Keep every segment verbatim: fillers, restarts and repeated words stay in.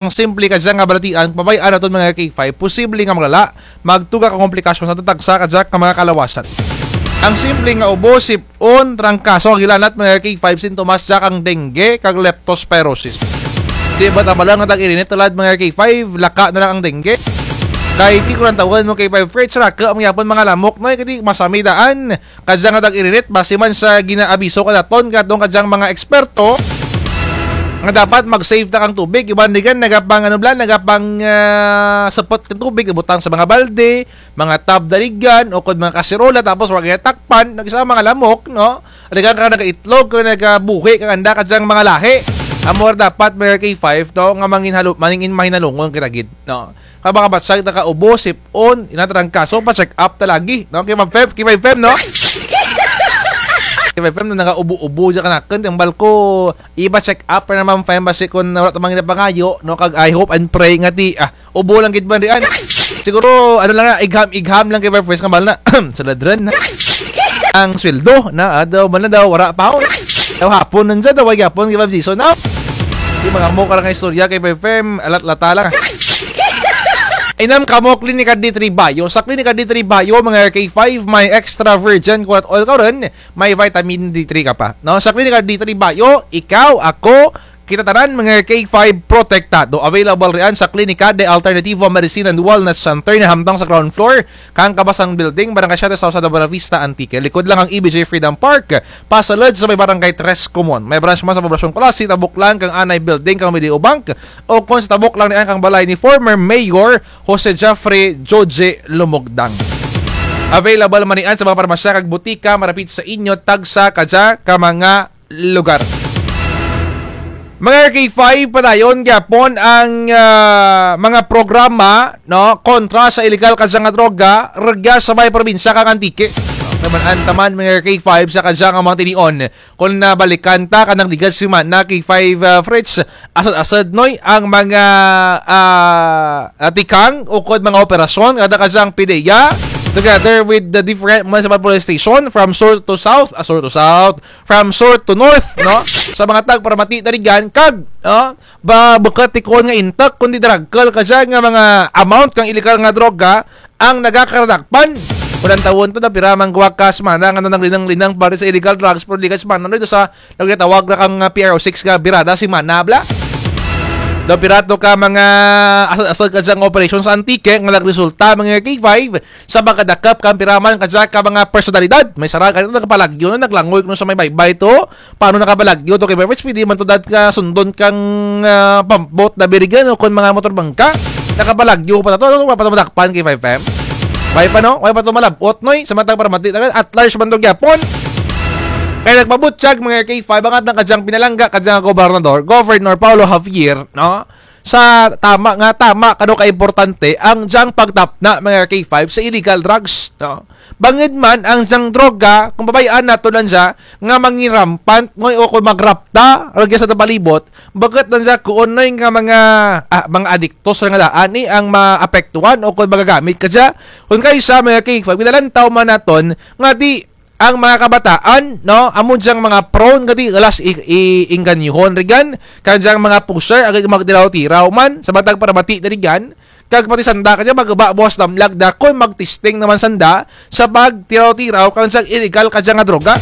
Ang simple kadya nga balatian, pabay-an naton mga K five, posible nga maglala, magtuga ka komplikasyon sa tatagsa kadya ka mga kalawasan. Ang simple nga ubo, sip-on, trangkaso, kag hilanat mga K five, sintomas dya kang dengue, kag leptospirosis. Di ba tabala nga tag-irinit tulad mga K five, laka na lang ang dengue. Kay di ko lang tawgan mo K five Fritz, raka, ang yapon mga lamok, no, kadi masami daan. Kadya nga tag-irinit, base man sa ginaabiso kanaton kadtong kadyang mga eksperto, nga dapat mag-save ta kang tubig. Iban rigan, nagapang, ano bala, nagapang, ah, sepot kang tubig, ibutang sa mga balde, mga tub da rigan, ukon mga kaserola, tapos wara gid takpan, nagisa mga lamok, no? Rigan ka nagaitlog, ka nagabuhi, kang anda kadyang mga lahi. Amo ra dapat, mga K five, to, nga mangin halu-, mangin mahinalungon kita gid, no? Kang mga batyag nakaubo, sip-on, inatrangkaso, pa-check up ta lagi, no? Kay Ma'am Fem, kay Ma'am Fem, no? Kay Ma'am Fem, no, nakaubo-ubo dya kanakun, tambal ko, ipa-check up ra na Ma'am Fem, basi kon wara ta man ginapangayo, no? Kag I hope and pray nga ti, ah, ubo lang gid man rian. Siguro, ano lang na, igham-igham lang kay Ma'am Fem, kambal na, sa ladran, na. Ang sweldo, na, ah, daw, man na daw, wara pa, oh. Daw hapon, nandyan, daw, ay hapon, kay Ma'am Jason, no? Di mga mo ka lang istorya kay Ma'am Fem, alat-lata lang. Inam kamo Klinika D three Bayo. Sa Klinika D three Bayo, mga K five, may extra virgin coconut oil ka rin, may vitamin D three ka pa. No? Sa Klinika D three Bayo, ikaw, ako, kita tanan, mga K five, protektado. Available rian sa Klinika de Alternative Medicine and Wellness Center na hamtang sa ground floor, kang Kabasang Building, Barangay Siete South, sa Buenavista, Antique. Likod lang ang E B J Freedom Park, pasulod sa may Barangay Tres Comon. May branch man sa Poblacion Culasi, tabok lang kang Anay Building, kang Mediabank, ukon sa tabok lang niyan kang balay ni former Mayor Jose Jeffrey Joje Lumogdang. Available man niyan sa mga parmasya kag butika, marapit sa inyo, tagsa kadya ka mga lugar. Mga K five, padayon gyapon ang, ah, mga programa, no, kontra sa iligal kadya nga droga, rugya sa may probinsya kang Antique. Taman-an taman, mga K five, sa kadya nga mga tinion. Kon nabalikan ta, kanang ligad semana, K five, ah, Fritz, asad-asad, noy, ang mga, ah, ah, tikang, ukon mga operasyon, kada kadyang PDEA, together with the different municipal police station, from sur to south, ah, sur to south, from sur to north, no? Sa mga tagparamati na rigan, kag, no? Ba, bukut ti kuon nga intek, kundi daragkul kadya nga mga amount kang iligal nga droga, ang nagakaradakpan. Walang tawon to, daw pira man gwa ka semana nga nanaglinang-linang pari sa illegal drugs, pero di ka semana, no, ito sa nagtawag ra kang, ah, P R O six ka birada semana, bala. Daw pira to ka mga asal-asal kadyang operasyon sa Antique, nga nagresulta, mga K five, sa pagkadakop kang pira man kadya ka mga personalidad. May sara ka dito, nagpalagyo na, naglangoy kuno sa may baybay to, Paano nakapalagyo to kay Pepes? Pwede man to dat ka sundon kang, ah, pampot na birigan o kon mga motor bangka. Nakapalagyo pa to, ano, wala pa to madakpan kay five M? Way pa, no? Way pa to malabot, noy? Sa matag paramati, at large man to gyapon. Kay nagpabutyag, mga K five, ang atang kadyang pinalangga, kadyang gobernador, Governor Paolo Javier, no? Sa tama nga, tama kano kaimportante ang dyang pagtapna, mga K five, sa illegal drugs, no? Bangud man ang dyang droga, kon pabay-an naton lang dya, nga mangin rampant, ngoy, o kon magrapta, rugya sa atun palibot, bukut lang dya kuon, noy, nga mga, ah, mga adiktos nga daan, eh, ang maapektuhan, o kon magagamit kadya. Kon kaysa, mga K five, ginalantaw man naton, nga ti, ang mga kabataan, no, amo dyang mga prone, nga ti, galas i-, i-, inganyohon, rigan, kang dyang mga pusher, agad magtiraw-tiraw man, sa matag paramati na rigan, Kag pati sanda kadya, magba buwas damlag da, kon magtesting naman sanda, sa pagtiraw-tiraw, kang dyang illegal kadya nga droga.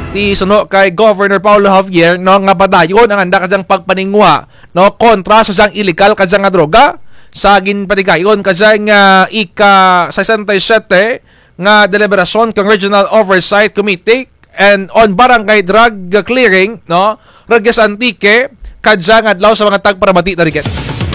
Ti suno kay Governor Paolo Javier, no, nga padayon ang anda kadyang pagpaninguha, no, kontra sa dyang illegal kadya nga droga, sa ginpatigayon kadya nga ika-sesenta y siyete nga deliberasyon kang Regional Oversight Committee, and on barangay drug clearing, no? Rugya sa Antique, kadyang adlaw sa mga tagparamati na rigan.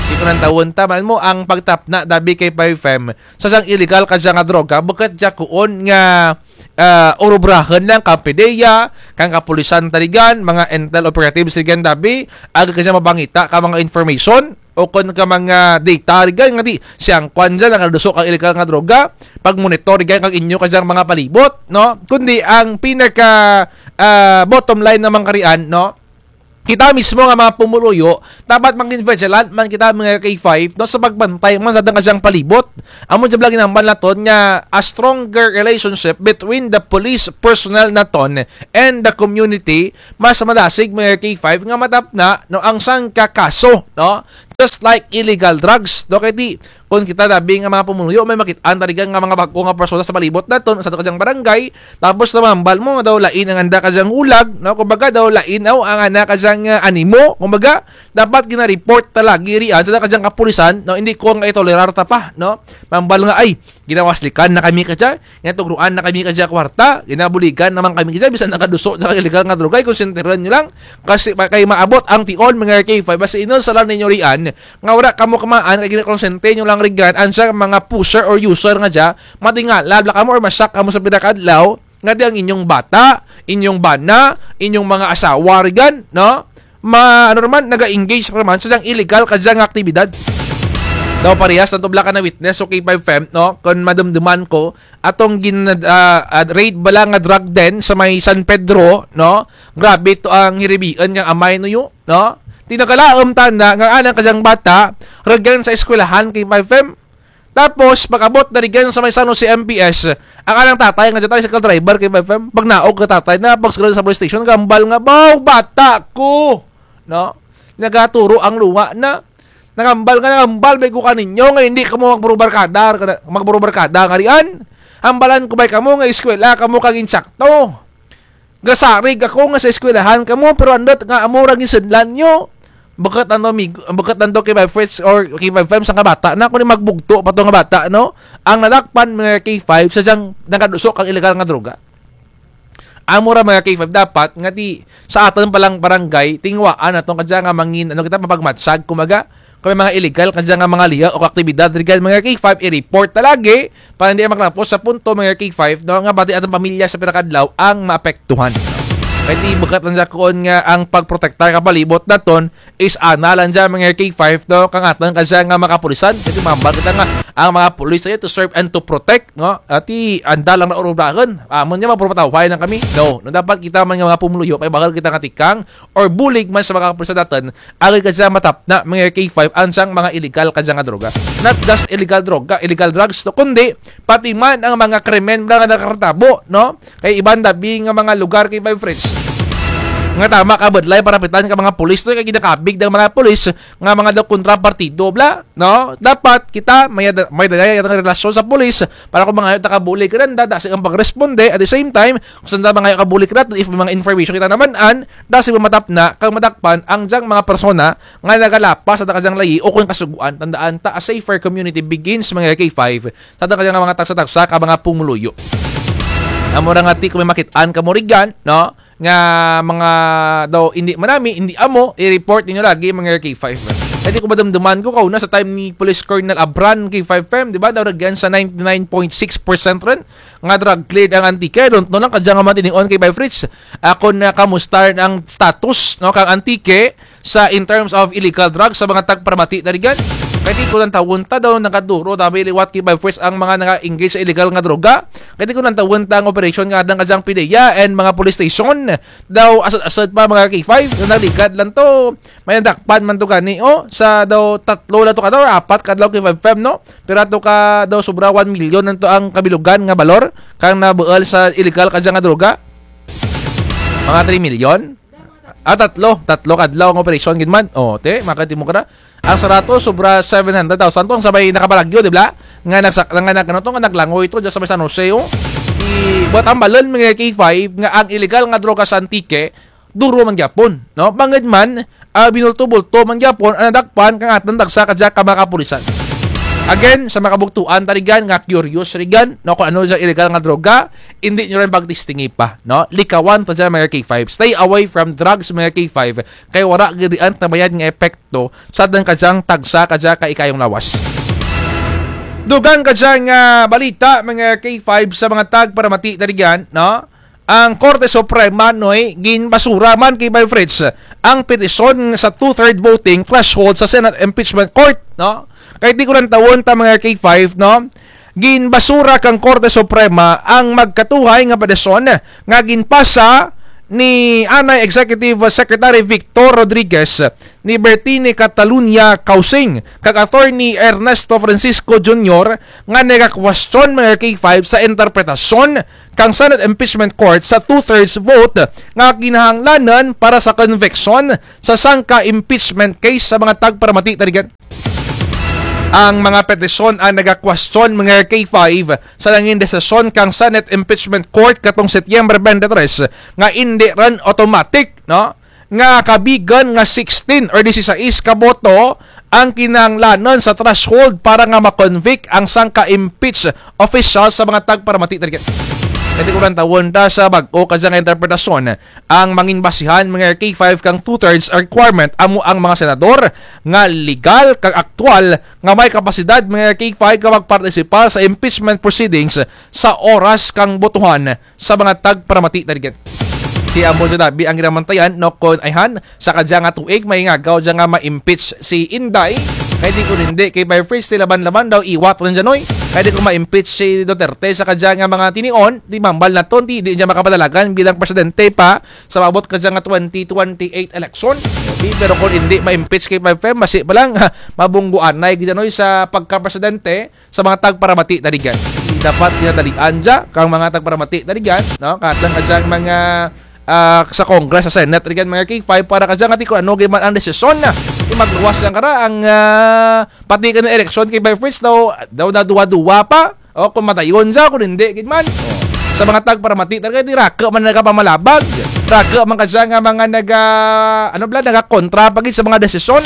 Di ko nang tawon ta, man mo ang pagtapna, dabi kay five M. Sa dyang illegal kadya nga droga, bukut dya kuon nga, ah, urubrahun lang kang PDEA, kang kapulisan ta rigan, mga intel operatives rigan dabi, agad kadya mabangita ka mga information, o kon ka mga data rigan nga ti, siyang kwan dyan, nakaduso kang illegal nga droga, pag-monitor rigan kang inyo kadyang mga palibot, no? Kundi ang pinaka, ah, bottom line naman karian, no? Kita mismo nga mga pumuluyo, dapat maging vigilant man kita mga K five, no? Sa pagbantay man sa atun kadyang palibot. Amo dyan bala ginhambal naton nga a stronger relationship between the police personnel naton and the community, mas madasig mga K five nga matapna, no, ang sangka kaso, no? just like illegal drugs, no? Kay ti, kon kita dabi nga mga pumuluyo, may makit-an ta rigan nga mga bag-o nga persona sa palibot naton, sa aton kadyang barangay, tapos na mahambal mo, daw lain ang anda kadyang hulag, no? Kumbaga, daw lain aw ang ana kadyang, ah, animo, kumbaga, dapat gina-report ta lagi rian sa kadyang kapulisan, no? Hindi ko nga itolerar ta pa, no? Mahambal nga, ay, ginawaslikan na kami kadya, ginatugruan na kami kadya kwarta, ginabuligan na man kami kadya, bisan nagaduso sa illegal nga droga, ay konsentirun nyo lang. Kasi pa-, kay maabot ang tion, mga K five, basta inulsalan ninyo rian, nga wara kamo kamaan, kay ginakonsente nyo lang rigan, ang siya mga pusher or user nga dya, matingala bala kamo or ma-shock kamo sa pila ka adlaw, nga di ang inyong bata, inyong bana, inyong mga asawa rigan, no? Ma-, ano naman, naga-engage naman sa dyang illegal kadya nga aktibidad. Daw parehas na to bala ka na-witness, okay, K five Fem, no? Kon madumduman ko, atong gin-, ah, ah, raid bala nga drug den sa may San Pedro, no? Grabe to ang hiribian nga amay nuyo, no? Ti nagalaom tana nga anang kadyang bata, rugyan sa eskwelahan, K five Fem. Tapos, pag-abot na rigan sa may San Jose M P S, ang anang tatay nga dyan tricycle driver, K five Fem, pagnaog ka tatay na, pagsagal sa police station, gambal nga, "Baw, bata ko!" No? Nagaturo ang luwa na. Nagambal nga, nagambal, may ko kaninyo, nga hindi kamo magburubarkada, magburubarkada nga rian. Hambalan ko bay kamo nga eskwela, kamo kang insakto. Gasarig ako nga sa eskwelahan kamo, pero andut nga amo ra ginsundan nyo. Bukut nanto, mig-, bukut nanto K five Fritz or K five Fem sa nga bata na, kundi magbugto pa to nga bata, no? Ang nadakpan, mga K five, sa dyang nagaduso kang illegal nga droga. Amo ra, mga K five, dapat nga ti sa atun pa lang barangay, tinguhaan natun kadya nga mangin, ano kita, mapagmatyag, kumaga, kon may mga illegal kadya nga mga lihuk o aktibidad, rigan, mga K five, i-report ta lagi, para hindi makalapos sa punto, mga K five, no, nga bati atun pamilya sa pira ka adlaw ang maapektuhan. Kay ti bukut lang dya kuon nga ang pagprotektar ka palibot natun is ana lang dya, mga K five, no, kang atun kadya nga mga kapulisan. Kay ti mahambal kita nga ang mga pulis ay to serve and to protect, no? Ti anda lang na urubrahun. Amun dya, magpurupatawhay lang kami. No, no, dapat kita man nga mga pumuluyo, kay bahul kita nga tikang or bulig man sa mga kapulisan natun, agud kadya matapna, mga K five, ang dyang mga illegal kadya nga droga. Not just illegal droga, illegal drugs, no, kundi pati man ang mga krimen nga nakatatabo, no? Kay iban dabi nga mga lugar, K five Fritz, nga tama ka budlay parapitan ka mga pulis, no? Kay ginakabig ang mga pulis nga mga daw kontrapartido bala, no? Dapat kita may da-, may dayay ang relasyon sa pulis para kon mangayo ta ka bulig kananda, dasi ang pagresponde. At the same time, kon sanda mangayo ka bulig kananda, if may mga information kita naman-an, dasi matapna kang madakpan ang dyang mga persona nga nagalapas sa kadyang layi o kon kasuguan. Tandaan ta, a safer community begins, mga K five, sa kadyang mga tagsa-tagsa ka mga pumuluyo. Amo ra nga ti kon may makit-an kamo rigan, no, nga mga daw hindi manami, hindi amo, i-report ninyo lagi, mga K five. Kay ti kon madumduman ko, kauna sa time ni Police Colonel Abran, K five Fem, di ba, daw rugyan sa ninety-nine point six percent run nga drug cleared ang Antique. I don't know lang kadya nga matinion, K five Fritz, kon na kamusta ang status, no, kang Antique sa in terms of illegal drugs sa mga tagparamati na rigan. Kay ti kon lantawun ta daw nagaduro, dabi liwat, K five Fritz, ang mga naka-engage sa illegal nga droga. Kay ti kon lantawun ta ang operation nga andang kadyang PDEA and mga police station, daw asud-asud pa, mga K five, nga nagligad lang to. May nadakpan man to gani, o, sa daw tatlo lang to ka daw, apat ka adlaw, K five Fem, no? Pira to ka daw, sobra one million lang to ang kabilugan nga balor kang nabuul sa illegal kadya nga droga. Mga three million? Ah, tatlo. Tatlo ka adlaw ang operasyon gid man. O, ti, makita mo kara. Ang sara to, sobra seven hundred thousand to. Ang sa may nakabalagyo, di ba? Nga nagsak-, nga nag-, ano to, nga naglangoy to dyan sa may San Jose, o. Ti, buut hambalun, mga K five, nga ang illegal nga droga sa Antique, duro man gyapon, no? Bangud man, ah, binulto-bulto man gyapon ang nadakpan kang atun tagsa kadya ka mga kapulisan. Again, sa mga kabugtuan ta rigan nga curious rigan, no, kon ano dyang illegal nga droga, indi nyo run pagtestingi pa, no? Likawan ta dyan, mga K five. Stay away from drugs, mga K five. Kay wara gid rian tabayad nga epekto sa atun kadyang tagsa kadya ka ikayong lawas. Dugang kadya nga balita, mga K five, sa mga tagparamati ta rigan, no? Ang Korte Suprema, Noy, ginbasura man, K five Fritz, ang petisyon sa two-third voting threshold sa Senate Impeachment Court, no? Kay ti kon lantawun ta, mga K five, no? Ginbasura kang Korte Suprema ang magkatuhay nga petisyon nga ginpasa ni anay Executive Secretary Victor Rodriguez, ni Bertine Catalunya Causing, kag Attorney Ernesto Francisco Junior nga nagakwestiyon, mga K five, sa interpretasyon kang Senate Impeachment Court sa two-thirds vote nga kinahanglanon para sa conviction sa sangka impeachment case sa mga tagparamati, target. Ang mga petisyon ang nagakwestiyon, mga K five, sa nangin desisyon kang Senate Impeachment Court katong Setyembre twenty-three nga indi run automatic, no? Nga kabigan nga sixteen or disisais ka boto ang kinahanglanon sa threshold para nga ma-convict ang sangka impeach official sa mga tagparamati, target. Kay ti ko lang tawon ta sa bag-o kadya nga interpretasyon, ang mangin basihan, mga K five, kang two-thirds requirement amo ang mga senador nga legal kag aktuwal nga may kapasidad, mga K five, nga magpartisipar sa impeachment proceedings sa oras kang botohan sa mga tagparamati, target. Ti amo dya dabi ang ginamantayan, no, kon ayhan, sa kadya nga tuig, may ngagaw dya nga ma-impeach si Inday. Kay ti kon indi, K five Fritz, ti laban-laban daw iwat run dya, noy. Kay ti kon ma-impeach si Duterte sa kadya nga mga tinion, ti mambal na ton, ti di dya makapadalagan bilang presidente pa sa maabot kadya nga twenty twenty-eight election. Ti, pero kon indi ma-impeach, K five Fem, basi pa lang, ha, mabungguanay gid dya, noy, sa pagkapresidente sa mga tagparamati, target. Dapat ginadalian dya kang mga tagparamati, target, no? Katong kadyang mga, ah, sa Congress, sa Senate, target, mga K five, para kadya nga ti kon ano gid man ang desisyon na. Ti magluwas dyan kara ang, ah, pati kang eleksyon, K five Fritz, daw, daw naduwa-duwa pa. O, kon madayon dya, kon indi gid man. O. Sa mga tagparamati, target, ti raku man nagapamalabag. Raku man kadya nga mga naga-, ano bala, nagakontra pa gid sa mga desisyon.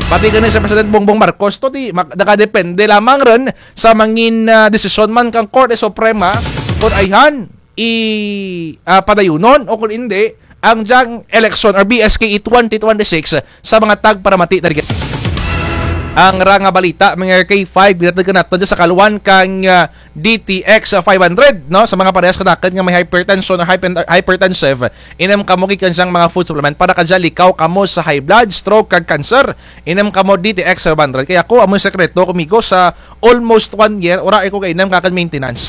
Pati gani si President Bongbong Marcos to, ti, mag-, nakadepende lamang run sa mangin, ah, desisyon man kang Korte Suprema, kon ayhan, i, ah, padayunon o kon indi, ang dyang eleksyon or B S K E twenty twenty-six sa mga tagparamati, target. Ang ra nga balita, mga K five, ginatagkan natun dya sa kaluan kang, ah, D T X five hundred, no? Sa mga parehas kanamun nga may hypertension or hypen-, hypertensive, inom kamo gid kang dyang mga food supplement para kadya likaw kamo sa high blood, stroke, kag cancer. Inom kamo D T X five hundred. Kay ako, amo sekreto ko, migo, sa almost one year, wara ko kainom kang maintenance.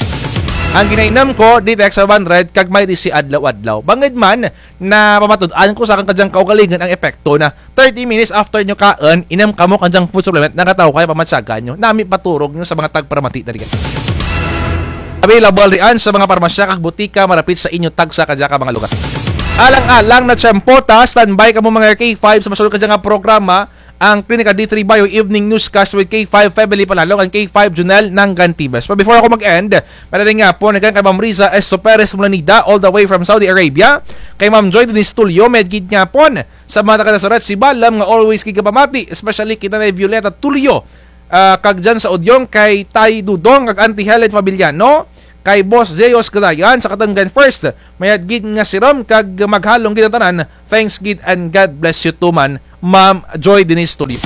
Ang ginainom ko, D T X five hundred, kag may disi adlaw-adlaw. Bangud man, napamatud-an ko sa akun kadyang kaugalingon ang epekto na thirty minutes after nyo kaun, inom kamo kadyang food supplement, nagataw kay pamatyagan nyo. Nami paturog nyo sa mga tagparamati, target. Available rian sa mga parmasya kag butika marapit sa inyo tagsa kadya ka mga lugar. Alang-alang na tiyempo ta, standby kamo mga K five sa masunod kadya nga programa, ang Klinika D three Bio Evening Newscast with K five Family Panalo and K five Junel Nangantibes. But before ako mag-end, maayong hapon kang kay Ma'am Riza Esto Perez Mulanida, all the way from Saudi Arabia, kay Ma'am Joy Denise Tulio, mayad gid nga hapon sa mga taga Nazaret, Sibalom, nga always gid kapamati, especially kay Nanay Violeta Tulio, ah, kag dyan sa Udyong, kay Tay Dudong, kag Auntie Helen Fabiliano, kay Boss Zeus Gadayan, sa Katunggan First, mayad gid nga sirom, kag maghalong gid ang tanan, thanks gid and God bless you too man, Ma'am Joy Denise Tulio.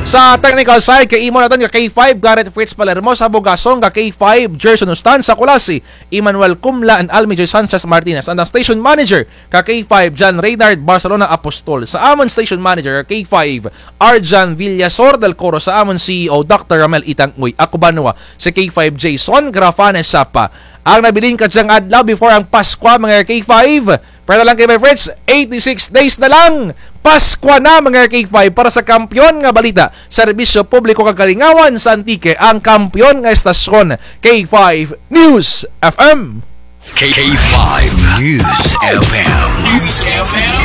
Sa technical side, kay imo natun nga K five, Garrett Fritz Palermo, sa Bugasong, ka K five, Gerson Ustan, sa Culasi, Emmanuel Cumla and Almi Joy Sanchez Martinez, and ang station manager, ka K five, John Reynard Barcelona Apostol, sa amun station manager, ka K five, Arjan Villasor del Coro, sa amun C E O, Doctor Ramel Itang Uy, ako ba nuwa, si K five Jason Grafane Sapa. Ang nabilin kadyang adlaw before ang Paskwa, mga K five, pwera lang kay my friends, eighty-six days na lang. Paskwa na, mga K five, para sa kampiyon nga balita, serbisyo publiko kag kalingawan sa Antique, ang kampiyon nga estasyon, K five News F M. K five News F M. News F M.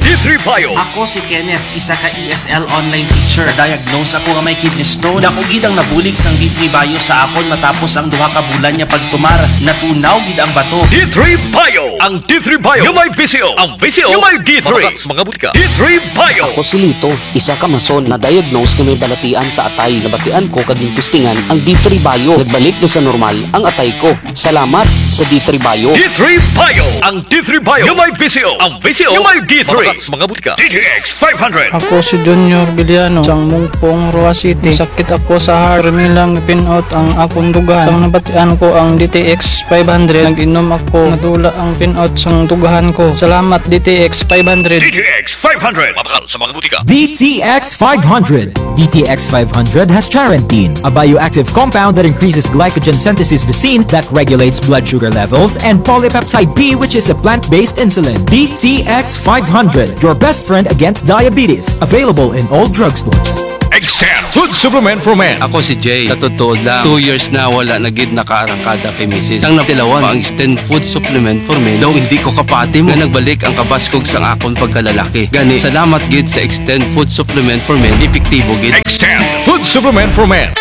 D three Bio. Ako si Kenneth, isa ka E S L online teacher. Diagnose ako nga may kidney stone. Dako gid ang nabulig sang D three Bio sa akon matapos ang duha ka bulan nga pagtumar. Natunaw gid ang bato. D three Bio. Ang D three Bio nga may V C O. Ang V C O nga may D three. Mabakal sa mga butika. D three Bio. Ako si Lito, isa ka mason, na-diagnose nga may balatian sa atay. Nabatian ko kag gintistingan ang D three Bio. Nagbalik na sa normal ang atay ko. Salamat sa D three Bio. D three Bio. Ang D three Bio nga may V C O. Ang V C O nga may D three. Mabakal sa mga butika. D T X five hundred. Ako si Junior Villano, sang Mungpong, Roxas City. Sakit ako sa heart. Permi lang pin-out ang akon dughan. Sang nabatian ko ang D T X five hundred, nag-inom ako. Nadula ang pin-out sang dughan ko. Salamat, D T X five hundred. D T X five hundred. Mabakal sa mga butika. D T X five hundred. D T X five hundred has charantine, a bioactive compound that increases glycogen synthesis vacin that regulates blood sugar levels, and polypeptide P, which is a plant-based insulin. D T X five hundred, your best friend against diabetes. Available in all drugstores. Extend Food Supplement for Men. Ako si Jay. Sa totoo lang, two years na wala na gid nakaarangkada kay misis. Sang natilawan pa ang Extend Food Supplement for Men, daw indi ko kapati mo nga nagbalik ang kabaskog sang akon pagkalalaki. Gani, salamat gid sa Extend Food Supplement for Men, epektibo gid. Extend Food Supplement for Men.